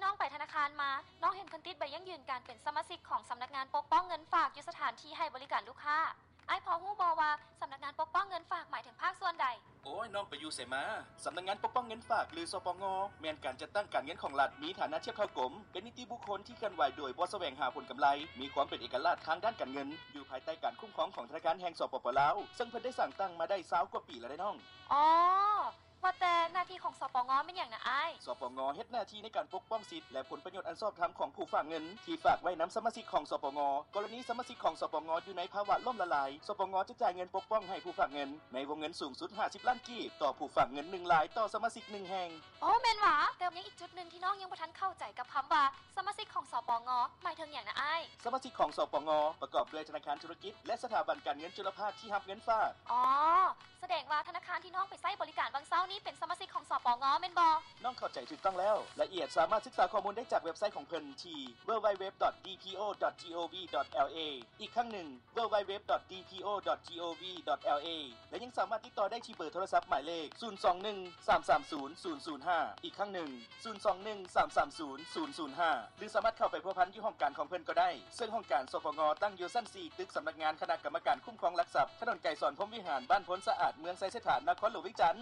ນ້ອງໄປທະນາຄານມາ, ນ້ອງເຫັນເພິ່ນຕິດໃບຢັ້ງຢືນການເປັນສະມາຊິກຂອງສຳນັກງານປົກປ້ອງເງິນຝາກຢູ່ສະຖານທີ່ໃຫ້ບໍລິການລູກຄ້າ. ອ້າຍພໍຮູ້ບໍ່ວ່າສຳນັກງານປົກປ້ອງເງິນຝາກໝາຍເຖິງພາກສ່ວນໃດ? ໂອ້ຍ, ນ້ອງໄປຢູ່ໃສມາ? ສຳນັກງານປົກປ້ອງເງິນຝາກ ຫຼື ສປງ ແມ່ນການຈັດຕັ້ງການເງິນຂອງລັດ, ມີຖານະທຽບເທົ່າກົມ, ເປັນນິຕິບຸກຄົນທີ່ເຄື່ອນໄຫວໂດຍບໍ່ສະແຫວງຫາຜົນກຳໄລ, ມີຄວາມເປັນເອກະລາດທາງດ້ານການເງິນ, ຢູ່ພາຍໃຕ້ການຄຸ້ມຄອງຂອງທະນາຄານແຫ່ງ ສປປ ລາວ, ເຊິ່ງເພິ່ນໄດ້ສ້າງຕັ້ງມາໄດ້ຊາວກວ່າປີແລ້ວເດ້ນ້ອງ. ອໍ ວ່າແຕ່ໜ້າທີ່ຂອງ ສປງ ແມ່ນຫຍັງນະອ້າຍ? ສປງ ເຮັດໜ້າທີ່ໃນການປົກປ້ອງສິດ ແລະ ຜົນປະໂຫຍດອັນຊອບທຳຂອງຜູ້ຝາກເງິນທີ່ຝາກໄວ້ນຳສະມາຊິກຂອງ ສປງ. ກໍລະນີສະມາຊິກຂອງ ສປງ ຢູ່ໃນພາວະລົ້ມລະລາຍ, ສປງ ຈະຈ່າຍເງິນປົກປ້ອງໃຫ້ຜູ້ຝາກເງິນໃນວົງເງິນສູງສຸດຫ້າສິບລ້ານກີບຕໍ່ຜູ້ຝາກເງິນໜຶ່ງລາຍຕໍ່ສະມາຊິກໜຶ່ງແຫ່ງ. ໂອ້ ແມ່ນຫວາ? ແຕ່ຍັງອີກຈຸດໜຶ່ງທີ່ນ້ອງຍັງບໍ່ທັນເຂົ້າໃຈກັບຄຳວ່າສະມາຊິກຂອງ ສປງ ໝາຍເຖິງຫຍັງນະອ້າຍ? ສະມາຊິກຂອງ ສປງ ປະກອບດ້ວຍທະນາຄານທຸລະກິດ ແລະ ສະຖາບັນການເງິນຈຸລະພາກທີ່ຮັບເງິນຝາກ. ອໍ ສະແດງວ່າທະນາຄານທີ່ນ້ອງໄປໃຊ້ບໍລິການຫວ່າງເຊົ້ານີ້ເປັນສະມາຊິກຂອງ ສປງ ແມ່ນບໍ່? ນ້ອງເຂົ້າໃຈຖືກຕ້ອງແລ້ວ. ລາຍລະອຽດສາມາດສຶກສາຂໍ້ມູນໄດ້ຈາກເວັບໄຊຂອງເພິ່ນທີ່ www.dpo.gov.la ອີກຄັ້ງໜຶ່ງ www.dpo.gov.la ແລະ ຍັງສາມາດຕິດຕໍ່ໄດ້ທີ່ເບີໂທລະສັບໝາຍເລກ ສູນສອງໜຶ່ງ ສາມສາມສູນ ສູນສູນຫ້າ ອີກຄັ້ງໜຶ່ງ ສູນສອງໜຶ່ງ ສາມສາມສູນ ສູນສູນຫ້າ ຫຼື ສາມາດເຂົ້າໄປພົວພັນຢູ່ຫ້ອງການຂອງເພິ່ນກໍໄດ້, ເຊິ່ງຫ້ອງການ ສປງ ຕັ້ງຢູ່ຊັ້ນສີ່ ຕຶກສຳນັກງານຄະນະກຳມະການຄຸ້ມຄອງຫຼັກຊັບ, ຖະໜົນໄກສອນ ພົມວິຫານ, ບ້ານໂພນສະອາດ, ເມືອງໄຊເສດຖາ, ນະຄອນຫຼວງວຽງຈັນ.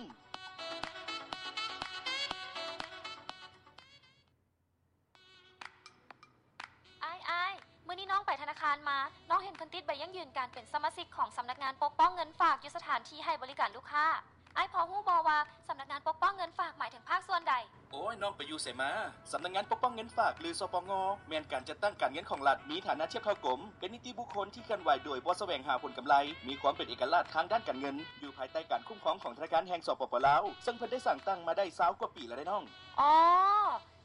ອ້າຍ, ອ້າຍ, ມື້ນີ້ນ້ອງໄປທະນາຄານມາ, ນ້ອງເຫັນເພິ່ນຕິດໃບຢັ້ງຢືນການເປັນສະມາຊິກຂອງສຳນັກງານປົກປ້ອງເງິນຝາກຢູ່ສະຖານທີ່ໃຫ້ບໍລິການລູກຄ້າ. ອ້າຍພໍຮູ້ບໍ່ວ່າສຳນັກງານປົກປ້ອງເງິນຝາກໝາຍເຖິງພາກສ່ວນໃດ? ໂອ້ຍ, ນ້ອງໄປຢູ່ໃສມາ? ສຳນັກງານປົກປ້ອງເງິນຝາກ ຫຼື ສປງ ແມ່ນການຈັດຕັ້ງການເງິນຂອງລັດ, ມີຖານະທຽບເທົ່າກົມ, ເປັນນິຕິບຸກຄົນທີ່ເຄື່ອນໄຫວໂດຍບໍ່ສະແຫວງຫາຜົນກຳໄລ, ມີຄວາມເປັນເອກະລາດທາງດ້ານການເງິນ, ຢູ່ພາຍໃຕ້ການຄຸ້ມຄອງຂອງທະນາຄານແຫ່ງ ສປປ ລາວ, ເຊິ່ງເພິ່ນໄດ້ສ້າງຕັ້ງມາໄດ້ຊາວກວ່າປີແລ້ວເດ້ນ້ອງ. ອໍ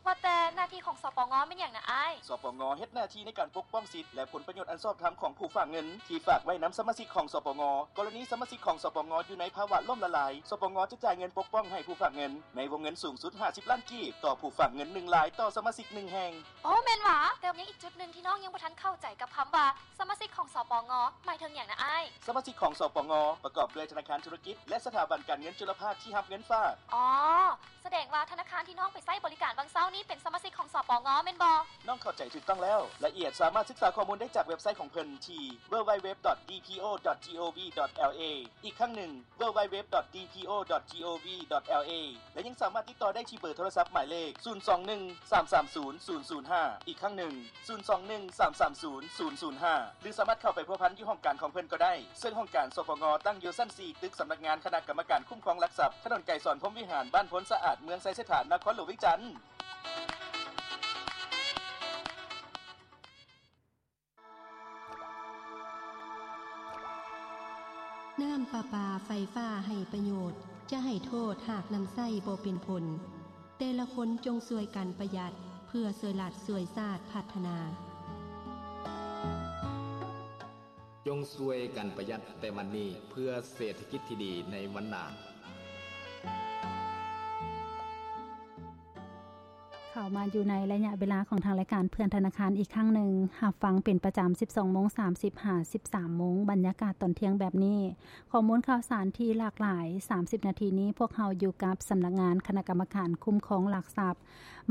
ວ່າແຕ່ໜ້າທີ່ຂອງ ສປງ ແມ່ນຫຍັງນະອ້າຍ? ສປງ ເຮັດໜ້າທີ່ໃນການປົກປ້ອງສິດ ແລະ ຜົນປະໂຫຍດອັນຊອບທຳຂອງຜູ້ຝາກເງິນທີ່ຝາກໄວ້ນຳສະມາຊິກຂອງ ສປງ. ກໍລະນີສະມາຊິກຂອງ ສປງ ຢູ່ໃນພາວະລົ້ມລະລາຍ, ສປງ ຈະຈ່າຍເງິນປົກປ້ອງໃຫ້ຜູ້ຝາກເງິນໃນວົງເງິນສູງສຸດຫ້າສິບລ້ານກີບຕໍ່ຜູ້ຝາກເງິນໜຶ່ງລາຍຕໍ່ສະມາຊິກໜຶ່ງແຫ່ງ. ໂອ້ ແມ່ນຫວາ? ແຕ່ຍັງອີກຈຸດໜຶ່ງທີ່ນ້ອງຍັງບໍ່ທັນເຂົ້າໃຈກັບຄຳວ່າສະມາຊິກຂອງ ສປງ ໝາຍເຖິງຫຍັງນະອ້າຍ? ສະມາຊິກຂອງ ສປງ ປະກອບດ້ວຍທະນາຄານທຸລະກິດ ແລະ ສະຖາບັນການເງິນຈຸລະພາກທີ່ຮັບເງິນຝາກ. ອໍ ສະແດງວ່າທະນາຄານທີ່ນ້ອງໄປໃຊ້ບໍລິການຫວ່າງເຊົ້ານີ້ເປັນສະມາຊິກຂອງ ສປງ ແມ່ນບໍ່? ນ້ອງເຂົ້າໃຈຖືກຕ້ອງແລ້ວ. ລາຍລະອຽດສາມາດສຶກສາຂໍ້ມູນໄດ້ຈາກເວັບໄຊຂອງເພິ່ນທີ່ www.dpo.gov.la ອີກຄັ້ງໜຶ່ງ www.dpo.gov.la ແລະ ຍັງສາມາດຕິດຕໍ່ໄດ້ທີ່ເບີໂທລະສັບໝາຍເລກ ສູນສອງໜຶ່ງ ສາມສາມສູນ ສູນສູນຫ້າ ອີກຄັ້ງໜຶ່ງ ສູນສອງໜຶ່ງ ສາມສາມສູນ ສູນສູນຫ້າ ຫຼື ສາມາດເຂົ້າໄປພົວພັນຢູ່ຫ້ອງການຂອງເພິ່ນກໍໄດ້, ເຊິ່ງຫ້ອງການ ສປງ ຕັ້ງຢູ່ຊັ້ນສີ່ ຕຶກສຳນັກງານຄະນະກຳມະການຄຸ້ມຄອງຫຼັກຊັບ, ຖະໜົນໄກສອນ ພົມວິຫານ, ບ້ານໂພນສະອາດ, ເມືອງໄຊເສດຖາ, ນະຄອນຫຼວງວຽງຈັນ. ນ້ຳປະປາໄຟຟ້າໃຫ້ປະໂຫຍດ, ຈະໃຫ້ໂທດຫາກນຳໃຊ້ບໍ່ເປັນຜົນ. ແຕ່ລະຄົນຈົ່ງຊ່ວຍກັນປະຢັດ ເພື່ອຊ່ວຍລັດຊ່ວຍຊາດພັດທະນາ. ຈົ່ງຊ່ວຍກັນປະຢັດແຕ່ວັນນີ້ ເພື່ອເສດຖະກິດທີ່ດີໃນວັນໜ້າ. ເຂົ້າມາຢູ່ໃນໄລຍະເວລາຂອງທາງລາຍການເພື່ອນທະນາຄານອີກຄັ້ງໜຶ່ງ, ຮັບຟັງເປັນປະຈຳ ສິບສອງໂມງສາມສິບ ຫາ ສິບສາມໂມງ, ບັນຍາກາດຕອນທ່ຽງແບບນີ້. ຂໍ້ມູນຂ່າວສານທີ່ຫຼາກຫຼາຍ, ສາມສິບນາທີນີ້ ພວກເຮົາຢູ່ກັບສຳນັກງານຄະນະກຳມະການຄຸ້ມຄອງຫຼັກຊັບ,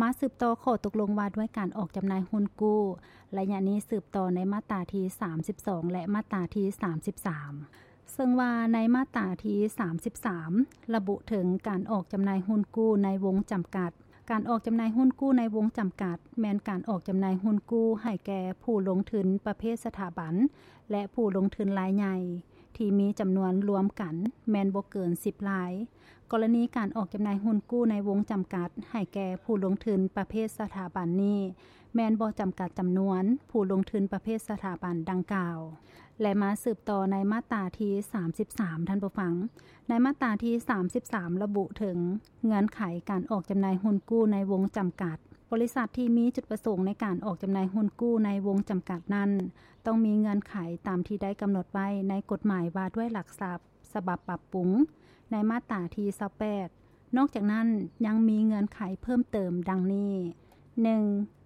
ມາສືບຕໍ່ຂໍ້ຕົກລົງວ່າດ້ວຍການອອກຈຳໜ່າຍຮຸ້ນກູ້, ໄລຍະນີ້ສືບຕໍ່ໃນມາດຕາທີສາມສິບສອງ ແລະ ມາດຕາທີສາມສິບສາມ. ເຊິ່ງວ່າໃນມາດຕາທີສາມສິບສາມ ລະບຸເຖິງການອອກຈຳໜ່າຍຮຸ້ນກູ້ໃນວົງຈຳກັດ. ການອອກຈຳໜ່າຍຮຸ້ນກູ້ໃນວົງຈຳກັດ ແມ່ນການອອກຈຳໜ່າຍຮຸ້ນກູ້ໃຫ້ແກ່ຜູ້ລົງທຶນປະເພດສະຖາບັນ ແລະ ຜູ້ລົງທຶນລາຍໃຫຍ່ ທີ່ມີຈຳນວນລວມກັນແມ່ນບໍ່ເກີນສິບລາຍ. ກໍລະນີການອອກຈຳໜ່າຍຮຸ້ນກູ້ໃນວົງຈຳກັດໃຫ້ແກ່ຜູ້ລົງທຶນປະເພດສະຖາບັນນີ້ ແມ່ນບໍ່ຈຳກັດຈຳນວນຜູ້ລົງທຶນປະເພດສະຖາບັນດັ່ງກ່າວ. ແລະ ມາສືບຕໍ່ໃນມາດຕາທີສາມສິບສາມ ທ່ານຜູ້ຟັງ. ໃນມາດຕາທີສາມສິບສາມ ລະບຸເຖິງເງື່ອນໄຂການອອກຈຳໜ່າຍຮຸ້ນກູ້ໃນວົງຈຳກັດ. ບໍລິສັດທີ່ມີຈຸດປະສົງໃນການອອກຈຳໜ່າຍຮຸ້ນກູ້ໃນວົງຈຳກັດນັ້ນ ຕ້ອງມີເງື່ອນໄຂຕາມທີ່ໄດ້ກຳນົດໄວ້ໃນກົດໝາຍວ່າດ້ວຍຫຼັກຊັບ ສະບັບປັບປຸງ ໃນມາດຕາທີຊາວແປດ. ນອກຈາກນັ້ນ ຍັງມີເງື່ອນໄຂເພີ່ມເຕີມດັ່ງນີ້, ໜຶ່ງ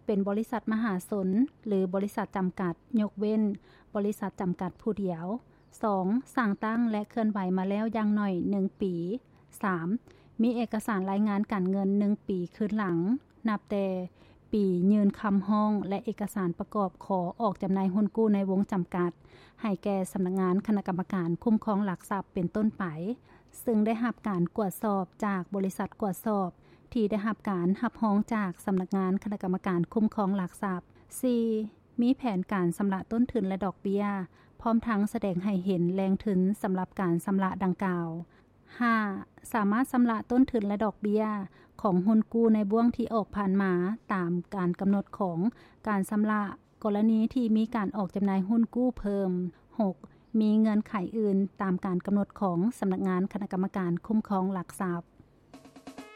ເປັນບໍລິສັດມະຫາຊົນ ຫຼື ບໍລິສັດຈຳກັດ, ຍົກເວັ້ນບໍລິສັດຈຳກັດຜູ້ດຽວ. ສອງ ສ້າງຕັ້ງ ແລະ ເຄື່ອນໄຫວມາແລ້ວຢ່າງໜ້ອຍໜຶ່ງປີ. ສາມ ມີເອກະສານລາຍງານການເງິນໜຶ່ງປີຄືນຫຼັງ ນັບແຕ່ ປີ ຍື່ນຄຳຮ້ອງ ແລະ ເອກະສານປະກອບຂໍອອກຈຳໜ່າຍຮຸ້ນກູ້ໃນວົງຈຳກັດ ໃຫ້ແກ່ສຳນັກງານຄະນະກຳມະການຄຸ້ມຄອງຫຼັກຊັບເປັນຕົ້ນໄປ, ຊຶ່ງໄດ້ຮັບການກວດສອບຈາກບໍລິສັດກວດສອບ ທີ່ໄດ້ຮັບການຮັບຮອງຈາກສຳນັກງານຄະນະກຳມະການຄຸ້ມຄອງຫຼັກຊັບ. ສີ່ ມີແຜນການຊຳລະຕົ້ນທຶນ ແລະ ດອກເບ້ຍ ພ້ອມທັງສະແດງໃຫ້ເຫັນແຫຼ່ງທຶນສຳລັບການຊຳລະດັ່ງກ່າວ. ຫ້າ ສາມາດຊຳລະຕົ້ນທຶນ ແລະ ດອກເບ້ຍຂອງຮຸ້ນກູ້ໃນບ່ວງທີ່ອອກຜ່ານມາຕາມການກຳນົດຂອງການຊຳລະ ກໍລະນີທີ່ມີການອອກຈຳໜ່າຍຮຸ້ນກູ້ເພີ່ມ. ຫົກ ມີເງື່ອນໄຂອື່ນຕາມການກຳນົດຂອງສຳນັກງານຄະນະກຳມະການຄຸ້ມຄອງຫຼັກຊັບ.